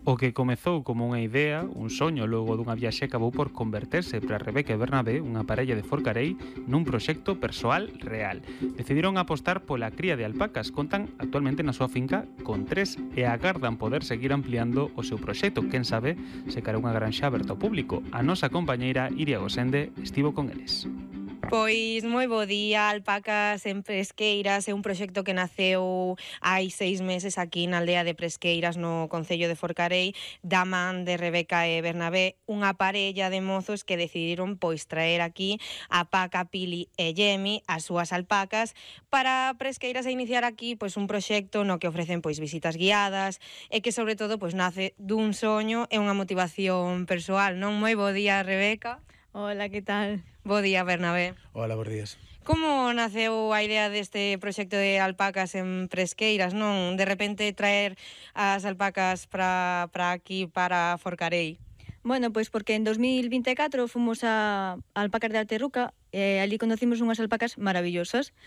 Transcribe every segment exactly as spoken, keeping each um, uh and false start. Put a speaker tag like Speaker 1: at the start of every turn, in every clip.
Speaker 1: O que comezou como unha idea, un soño logo dunha viaxe acabou por converterse para Rebeca e Bernabé, unha parella de Forcarei, nun proxecto persoal real. Decidiron apostar pola cría de alpacas, contan actualmente na súa finca con tres e agardan poder seguir ampliando o seu proxecto. Quen sabe se cara unha granxa aberta ao público. A nosa compañeira Iria Gosende estivo con eles.
Speaker 2: Pois moi bo día, Alpacas en Presqueiras é un proxecto que naceu hai seis meses aquí na aldea de Presqueiras no concello de Forcarei da man de Rebeca e Bernabé, unha parella de mozos que decidiron pois traer aquí a Paca, Pili e Yemi, as súas alpacas, para Presqueiras e iniciar aquí pois un proxecto no que ofrecen pois visitas guiadas e que sobre todo pois nace dun soño e unha motivación persoal, non? Moi bo día, Rebeca.
Speaker 3: Hola, que tal?
Speaker 2: Bo día, Bernabé.
Speaker 4: Hola, bos días.
Speaker 2: Como naceu a idea deste proxecto de alpacas en Presqueiras, non? De repente traer as alpacas para para aquí, para Forcarei.
Speaker 3: Bueno, pois porque en dos mil vinte e catro fomos a Alpacas de Alterruca e ali conocimos unhas alpacas maravillosas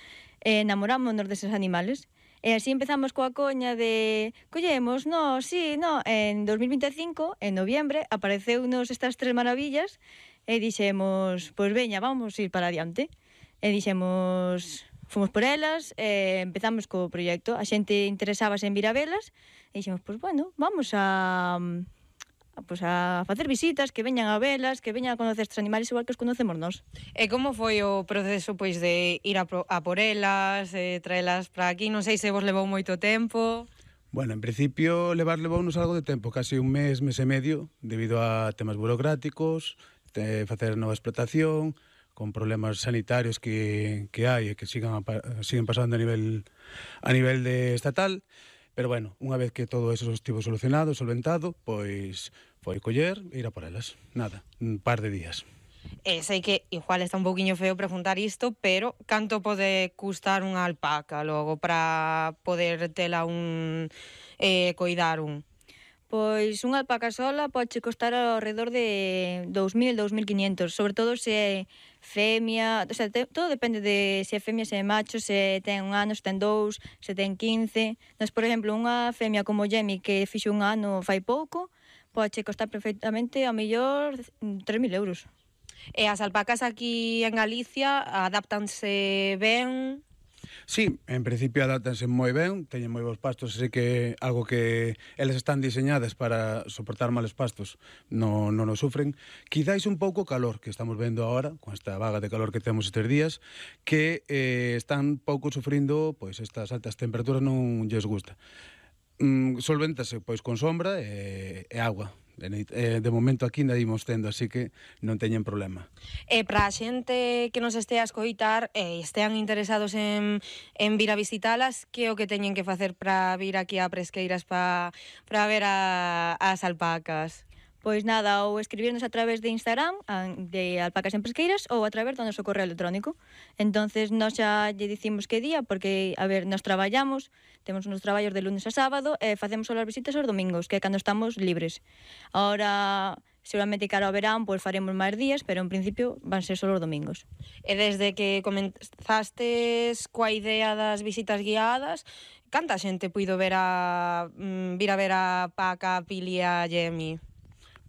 Speaker 3: e enamorámonos deses animales. E así empezamos coa coña de collemos, no, sí, no. En dos mil vinte e cinco, en noviembre, apareceunos estas tres maravillas e dixemos, pois veña, vamos ir para adiante. E dixemos, fomos por elas, e empezamos co proxecto. A xente interesábase en vir a velas e dixemos, pois bueno, vamos a... Pues a facer visitas, que veñan a velas, que veñan a conocer estes animales igual que os conocemos nós.
Speaker 2: E como foi o proceso pois de ir a, pro, a por elas, eh, traelas para aquí? Non sei se vos levou moito tempo.
Speaker 4: Bueno, en principio levar levounos algo de tempo, casi un mes, mes e medio, debido a temas burocráticos, de facer nova explotación, con problemas sanitarios que, que hai e que sigan, a, siguen pasando a nivel, a nivel de estatal. Pero bueno, unha vez que todo eso estivo solucionado, solventado, pois foi coller e ir a por elas. Nada, un par de días.
Speaker 2: E sei que igual está un pouquiño feo preguntar isto, pero canto pode custar unha alpaca logo para poder tela un eh, coidar un?
Speaker 3: Pois unha alpaca sola pode costar ao redor de dous mil, dous mil quinhentos, sobre todo se é femia, o sea, te, todo depende de se é femia, se é macho, se ten un ano, se ten dous, se ten quince. Nos, por exemplo, unha femia como Yemi que fixo un ano fai pouco, pode costar perfectamente a mellor tres mil euros.
Speaker 2: E as alpacas aquí en Galicia adáptanse ben?
Speaker 4: Sí, en principio adáptanse moi ben, teñen moi bons pastos, así que algo que eles están diseñadas para soportar males pastos non no nos sufren. Quizáis un pouco calor que estamos vendo agora, con esta vaga de calor que temos estes días, que eh, están pouco sufrindo, pois estas altas temperaturas non lles gusta. Mm, solvéntase pois con sombra e, e agua. De, de momento aquí ainda imos tendo, así que non teñen problema.
Speaker 2: E para a xente que nos este a escoitar e estean interesados en, en vir a visitalas, que é o que teñen que facer para vir aquí a Presqueiras para para ver a, as alpacas?
Speaker 3: Pois nada, ou escribirnos a través de Instagram de Alpacas en Presqueiras ou a través do noso correo electrónico. Entonces nós xa lle dicimos que día, porque, a ver, nos traballamos, temos uns traballos de lunes a sábado e facemos só as visitas os domingos, que é cando estamos libres. Ahora, seguramente cara ao verán, pois faremos máis días, pero en principio van ser só os domingos.
Speaker 2: E desde que comenzastes coa idea das visitas guiadas, canta xente puido ver a mm, vir a ver a Paca, a Pili e a Yemi?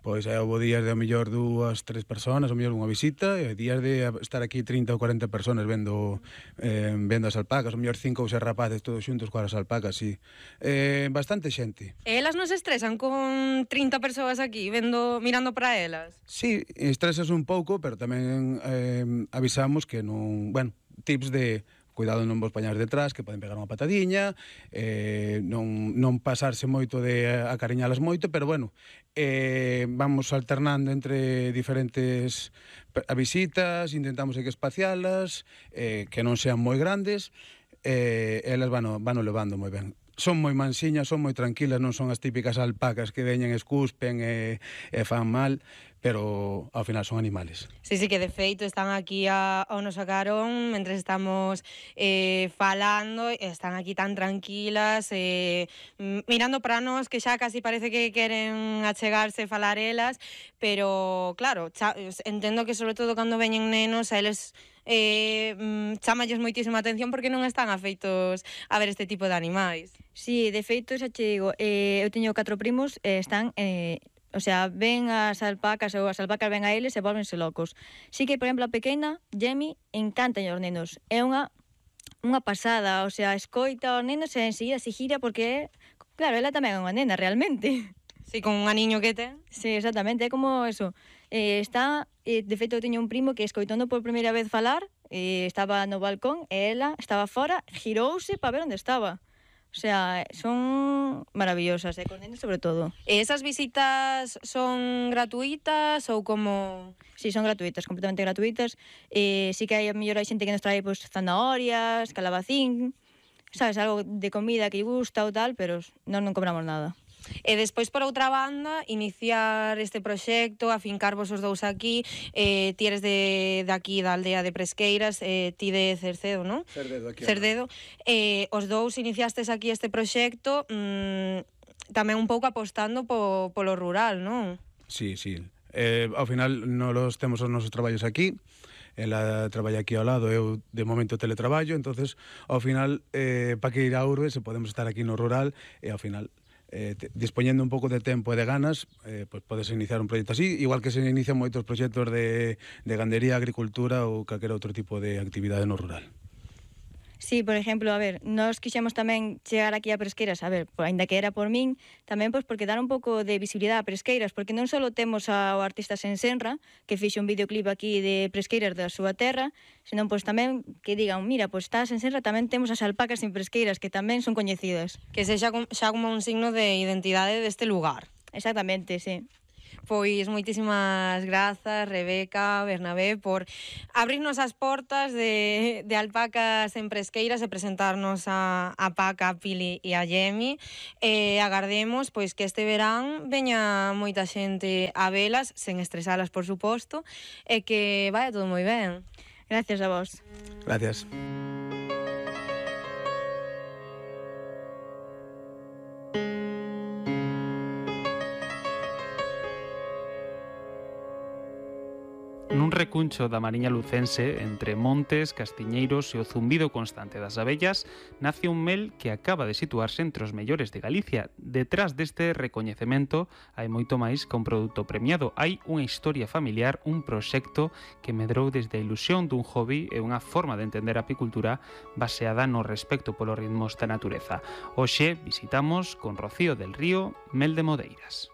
Speaker 4: Pois é, houve días de ao mellor dúas, tres personas, ao mellor unha visita, e días de estar aquí trinta ou cuarenta personas vendo eh, vendo as alpacas, ao mellor cinco ou seis rapaces todos xuntos coas alpacas, sí. Eh, bastante xente.
Speaker 2: E elas non se estresan con trinta persoas aquí, vendo, mirando para elas?
Speaker 4: Sí, estresas un pouco, pero tamén eh, avisamos que non, bueno, tips de cuidado non vos pañar detrás, que poden pegar unha patadiña, eh, non, non pasarse moito de acariñalas moito, pero bueno, eh, vamos alternando entre diferentes a visitas, intentamos que espacialas, eh, que non sean moi grandes, e eh, elas van, van levando moi ben. Son moi mansiñas, son moi tranquilas, non son as típicas alpacas que veñen, escuspen e, e fan mal, pero ao final son animales.
Speaker 2: Sí, sí, que de feito están aquí a, ao noso carón mentre estamos eh, falando, están aquí tan tranquilas, eh, mirando para nós, que xa casi parece que queren achegarse e falar elas, pero claro, xa, entendo que sobre todo cando veñen nenos, a eles eh, mm, chamalles moitísima atención porque non están afeitos a ver este tipo de animais.
Speaker 3: Sí, de feito, xa che digo, eh, eu teño catro primos e eh, están... Eh, o sea, ven as alpacas ou as alpacas ven a eles e volvense locos. Sí que, por exemplo, a pequena, Jemi, encanta aos nenos. É unha unha pasada, o sea, escoita aos nenos e enseguida se gira porque, claro, ela tamén é unha nena, realmente.
Speaker 2: Sí, con un aniño que ten.
Speaker 3: Sí, exactamente, é como eso. Eh, está, eh, de feito, eu teño un primo que escoitando por primeira vez falar, eh, estaba no balcón e ela estaba fora, girouse para ver onde estaba. O sea, son maravillosas, e con nenos sobre todo.
Speaker 2: E esas visitas son gratuitas ou como...?
Speaker 3: Sí, son gratuitas, completamente gratuitas. Eh, sí que hai, a mellor hai xente que nos trae pues, zanahorias, calabacín, sabes, algo de comida que lle gusta ou tal, pero non non cobramos nada.
Speaker 2: E despois, por outra banda, iniciar este proxecto, afincarvos os dous aquí, eh, ti eres de, de aquí, da aldea de Presqueiras, eh, ti de Cercedo, non?
Speaker 4: Cerdedo, aquí.
Speaker 2: Cerdedo. Eh, os dous iniciastes aquí este proxecto, mmm, tamén un pouco apostando po, polo rural, non?
Speaker 4: Sí, sí. Eh, ao final, nos temos os nosos traballos aquí, ela traballa aquí ao lado, eu de momento teletraballo, entonces ao final, eh, para que ir a urbe, se podemos estar aquí no rural, e ao final... Eh, te, dispoñendo un pouco de tempo e de ganas, eh, pues podes iniciar un proxecto así, igual que se inician moitos proxectos de, de gandería, agricultura ou calquer outro tipo de actividade no rural.
Speaker 3: Sí, por exemplo, a ver, nós quixemos tamén chegar aquí a Presqueiras, a ver, ainda que era por min, tamén pois porque dar un pouco de visibilidade a Presqueiras, porque non só temos ao artista Sensenra, que fixe un videoclip aquí de Presqueiras da súa terra, senón pois tamén que digan, mira, pois está a Sensenra, tamén temos as alpacas en Presqueiras, que tamén son coñecidas.
Speaker 2: Que sexa xa como un signo de identidade deste lugar.
Speaker 3: Exactamente, sí.
Speaker 2: Pois moitísimas grazas, Rebeca, Bernabé, por abrirnos as portas de, de Alpacas en Presqueiras e presentarnos a, a Paca, a Pili e a Jemi. E agardemos pois que este verán veña moita xente a velas, sen estresalas, por suposto, e que vaya todo moi ben.
Speaker 3: Gracias a vos.
Speaker 4: Gracias.
Speaker 1: Nun recuncho da Mariña Lucense, entre montes, castiñeiros e o zumbido constante das abellas, nace un mel que acaba de situarse entre os mellores de Galicia. Detrás deste recoñecemento hai moito máis que un produto premiado. Hai unha historia familiar, un proxecto que medrou desde a ilusión dun hobby e unha forma de entender a apicultura baseada no respecto polos ritmos da natureza. Hoxe visitamos con Rocío del Río Mel de Modeiras.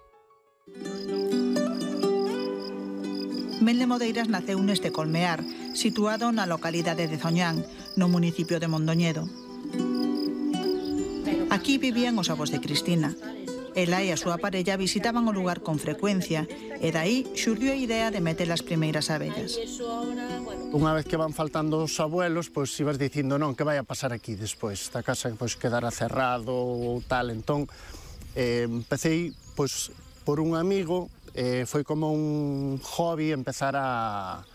Speaker 5: Mel de Modeiras naceu neste colmear, situado na localidade de Zoñán, no municipio de Mondoñedo. Aquí vivían os avós de Cristina. Ela e a súa parella visitaban o lugar con frecuencia e dai xurdiu a idea de meter as primeiras abellas.
Speaker 6: Unha vez que van faltando os abuelos, pois ibas dicindo non, que vai a pasar aquí despois? Esta casa pois quedará cerrado ou tal, entón eh, empecei pois por un amigo. Eh, foi como un hobby empezar a,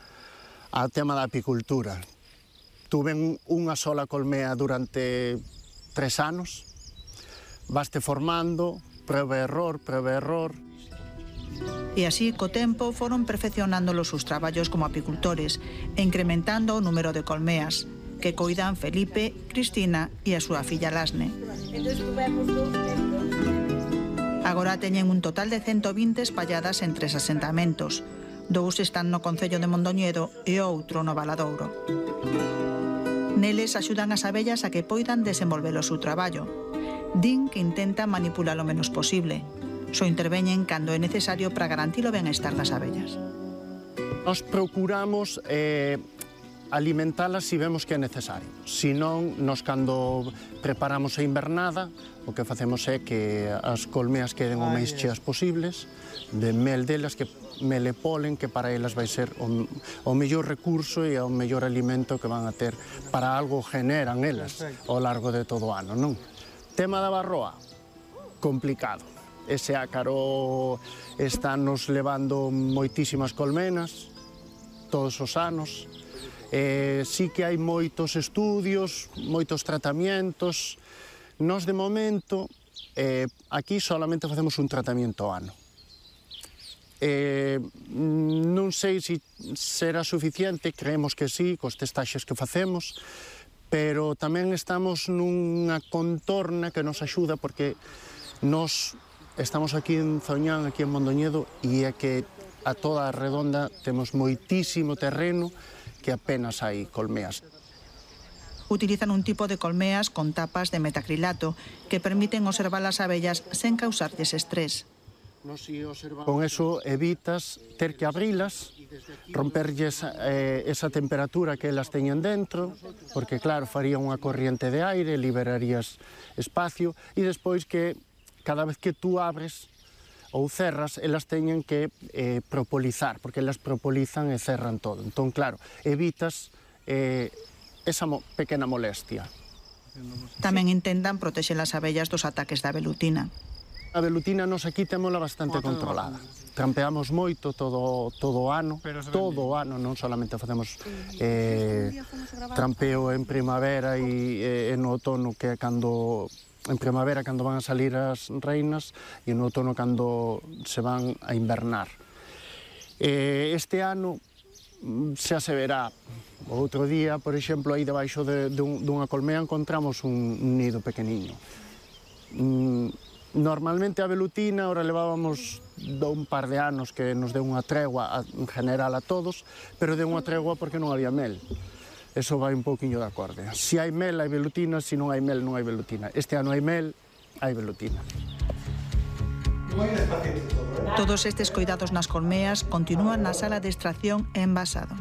Speaker 6: a tema da apicultura. Tuve unha sola colmea durante tres anos, vaste formando, prueba e error, prueba e error.
Speaker 5: E así, co tempo, foron perfeccionando os seus traballos como apicultores e incrementando o número de colmeas, que coidan Felipe, Cristina e a súa filla Lasne. Agora teñen un total de ciento vinte espalladas en tres asentamentos. Dous están no concello de Mondoñedo e outro no Valadouro. Neles axudan as abellas a que poidan desenvolver o seu traballo. Din que intentan manipular o menos posible. Só interveñen cando é necesario para garantir o benestar das abellas.
Speaker 6: Nos procuramos eh, alimentalas se vemos que é necesario. Se non, nos cando preparamos a invernada, o que facemos é que as colmeas queden o máis cheas posibles, de mel delas, que mel e polen, que para elas vai ser o, o mellor recurso e o mellor alimento que van a ter para algo generan elas ao largo de todo o ano, non? Tema da barroa, complicado. Ese ácaro está nos levando moitísimas colmenas, todos os anos. Eh, sí que hai moitos estudios, moitos tratamientos. Nós, de momento, eh, aquí solamente facemos un tratamiento ao ano. Eh, non sei se será suficiente, creemos que sí, cos testaxes que facemos, pero tamén estamos nunha contorna que nos axuda porque nos estamos aquí en Zoñán, aquí en Mondoñedo, e é que a toda a redonda temos moitísimo terreno que apenas hai colmeas.
Speaker 5: Utilizan un tipo de colmeas con tapas de metacrilato que permiten observar as abellas sen causarlles estrés.
Speaker 6: Con eso evitas ter que abrilas, romperlles eh, esa temperatura que elas teñen dentro, porque claro, faría unha corriente de aire, liberarías espacio, e despois que cada vez que tú abres ou cerras, elas teñen que eh, propolizar, porque elas propolizan e cerran todo. Entón, claro, evitas eh, esa mo pequena molestia.
Speaker 5: Tamén intentan protexer as abellas dos ataques da velutina.
Speaker 6: A velutina nos aquí témola bastante controlada. Trampeamos moito todo, todo o ano, todo o ano, non solamente facemos eh, trampeo en primavera e, e no outono, que é cando... En primavera, cando van a salir as reinas, e no outono, cando se van a invernar. Eh, este ano, xa se verá. O outro día, por exemplo, aí debaixo de, de un, dunha colmea encontramos un, un nido pequeniño. Mm, normalmente a velutina, ora levábamos un par de anos que nos deu unha tregua a, en general a todos, pero deu unha tregua porque non había mel. Eso vai un pouquiño de acorde. Se hai mel, hai velutina, se non hai mel, non hai velutina. Este ano hai mel, hai velutina.
Speaker 5: Todos estes cuidados nas colmeas continúan na sala de extracción e envasado.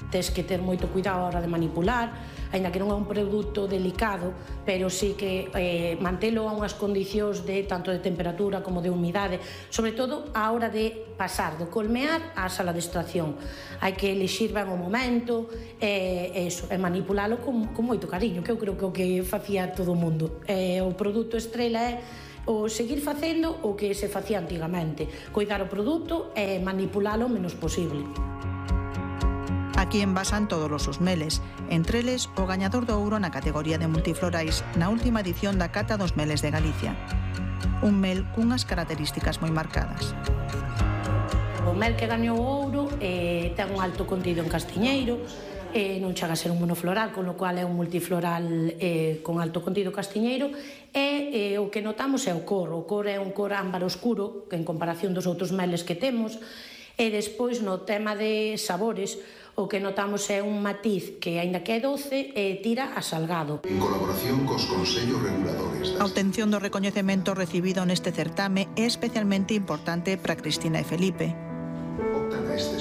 Speaker 7: Tes que ter moito cuidado a hora de manipular, aínda que non é un produto delicado, pero sí que eh, mantelo a unhas condicións de tanto de temperatura como de humidade, sobre todo a hora de pasar do colmear á sala de extracción. Hai que elixir ben o momento e, e, eso, e manipulalo con, con moito cariño, que eu creo que o que facía todo o mundo. E, o produto estrela é o seguir facendo o que se facía antigamente, cuidar o produto e manipulalo o menos posible.
Speaker 5: Aquí envasan todos os meles, entre eles o gañador do ouro na categoría de multiflorais na última edición da Cata dos Meles de Galicia. Un mel cunhas características moi marcadas.
Speaker 7: O mel que gañou o ouro eh, ten un alto contido en castiñeiro, eh, non chega a ser un monofloral, con o cual é un multifloral eh, con alto contido castiñeiro, e eh, o que notamos é o cor. O cor é un cor ámbar oscuro, que en comparación dos outros meles que temos, e despois no tema de sabores, o que notamos é un matiz que, aínda que é doce, eh, tira a salgado.
Speaker 8: En colaboración cos consellos reguladores.
Speaker 5: A obtención do recoñecemento recibido neste certame é especialmente importante para Cristina e Felipe.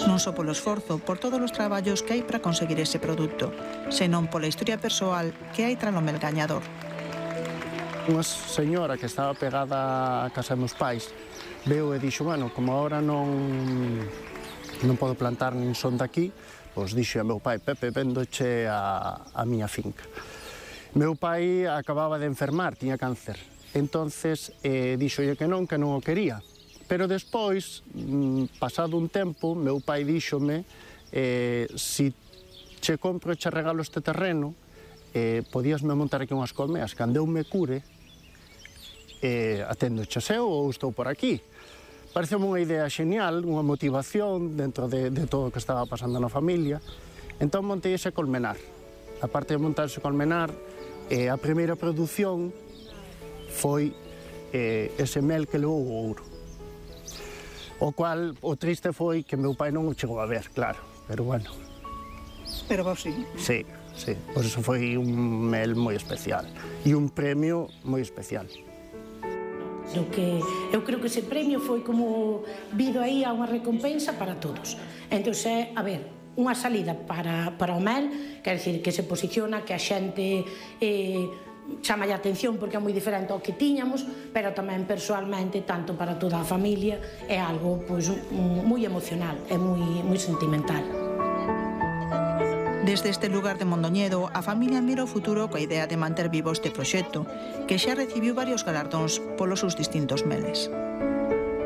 Speaker 5: Non só polo esforzo, por todos os traballos que hai para conseguir ese produto, senón pola historia persoal que hai tras o mel gañador.
Speaker 6: Unha señora que estaba pegada a casa dos meus pais veu e dixo, bueno, como agora non non podo plantar nin son daqui, pois dixo a meu pai, Pepe, vendoche a, a miña finca. Meu pai acababa de enfermar, tiña cáncer, entonces eh, dixolle que non, que non o quería. Pero despois, pasado un tempo, meu pai díxome, eh, si che compro e che regalo este terreno, eh, podíasme montar aquí unhas colmeas, cando eu me cure, eh, atendo che seu ou estou por aquí. Pareceu-me unha idea genial, unha motivación dentro de, de todo o que estaba pasando na familia. Entón montei ese colmenar. A parte de montar ese colmenar, eh, a primeira produción foi eh, ese mel que levou o ouro. O cual, o triste foi que meu pai non o chegou a ver, claro, pero bueno.
Speaker 5: Pero vos sí.
Speaker 6: Sí, sí, por eso foi un mel moi especial e un premio moi especial.
Speaker 7: O que eu creo que ese premio foi como vido aí a unha recompensa para todos. Entón, é, a ver, unha salida para, para o mel, quer dizer, que se posiciona, que a xente eh, chama a atención porque é moi diferente ao que tiñamos, pero tamén persoalmente, tanto para toda a familia, é algo pois, moi emocional, é moi, moi sentimental.
Speaker 5: Desde este lugar de Mondoñedo, a familia mira o futuro coa idea de manter vivo este proxecto, que xa recibiu varios galardóns polos seus distintos meles.